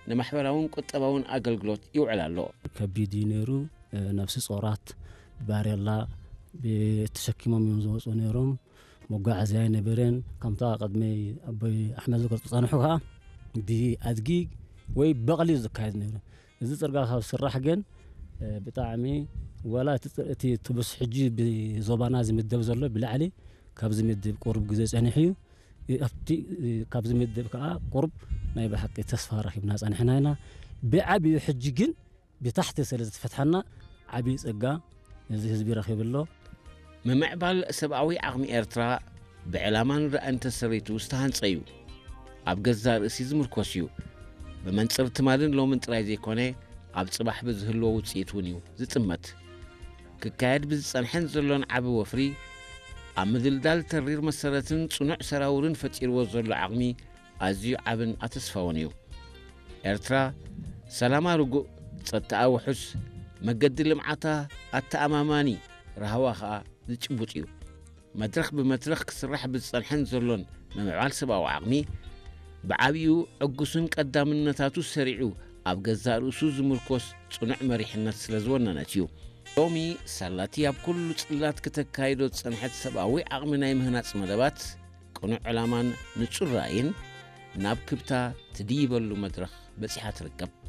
ንማሕበራውን ቁጠባውን ኣገልግሎት ይውዕል ኣሎ። ከቢድ እዩ ነይሩ። ነብሲ ጾራት ባሬላ ተሸኪሞም እዮም ዝወፁ ነይሮም። መጓዓዝያ ኣይነበረን። ከምታ ቅድሚ ኣቦይ ኣሕመድ ዝገልፁ ጸንሑ ከዓ ብኣድጊ ወይ በቕሊ እዩ ዝካየድ ነይሩ። እዚ ፅርጋ ካብ ስራሕ ግን ብጣዕሚ ዋላ እቲ ትብስ ሕጂ ብዞባና ዝምደብ ዘሎ ብላዕሊ ካብዚ ምድብ ቁሩብ ግዜ ጸኒሑ እዩ። ኣብቲ ካብዚ ምድብ ከዓ ቁሩብ ናይ ብሓቂ ተስፋ ረኺብና ጸኒሕና ኢና። ብዓብዩ ሕጂ ግን ብታሕቲ ስለ ዝተፈትሐና ዓብዪ ጸጋ እዚ ህዝቢ ረኺቡ ኣሎ። ምምዕባል ሰብኣዊ ዓቕሚ ኤርትራ ብዕላማን ራእን ተሰሪቱ ዝተሃንጸ እዩ። ኣብ ገዛእ ርእሲ ዝምርኮስ እዩ። ብመንጽር ትማልን ሎምን ጥራይ ዘይኮነ ኣብ ጽባሕ ብዝህልዎ ውጽኢት እውን እዩ ዝጥመት። ክካየድ ብዝጸንሐን ዘሎን ዓቢ ወፍሪ ኣብ ምድልዳል ተሪር መሰረትን ጽኑዕ ሰራውርን ፈጢርዎ ዘሎ ዓቕሚ ኣዝዩ ዓብን ኣተስፋውን እዩ። ኤርትራ ሰላማ ርጉእ፣ ጸጥታኣ ውሑስ፣ መገዲ ልምዓታ ኣተኣማማኒ፣ ራህዋ ኸኣ ዝጭቡጥ እዩ። መድረኽ ብመድረኽ ክስራሕ ብዝጸንሐን ዘሎን ምምዕባል ሰብኣዊ ዓቕሚ ብዓብዩ ዕጉስን ቀዳምነታቱ ሰሪዑ ኣብ ገዛእ ርእሱ ዝምርኮስ ጽኑዕ መሪሕነት ስለ ዝወነነት እዩ። ሎሚ ሳላቲ ኣብ ኩሉ ጽላት ክተካይዶ ዝጸንሐት ሰብኣዊ ዓቕሚ ናይ ምህናጽ መደባት ቅኑዕ ዕላማን ንጹር ራእይን ናብ ክብታ ትድይበሉ መድረኽ በጺሓ ትርከብ።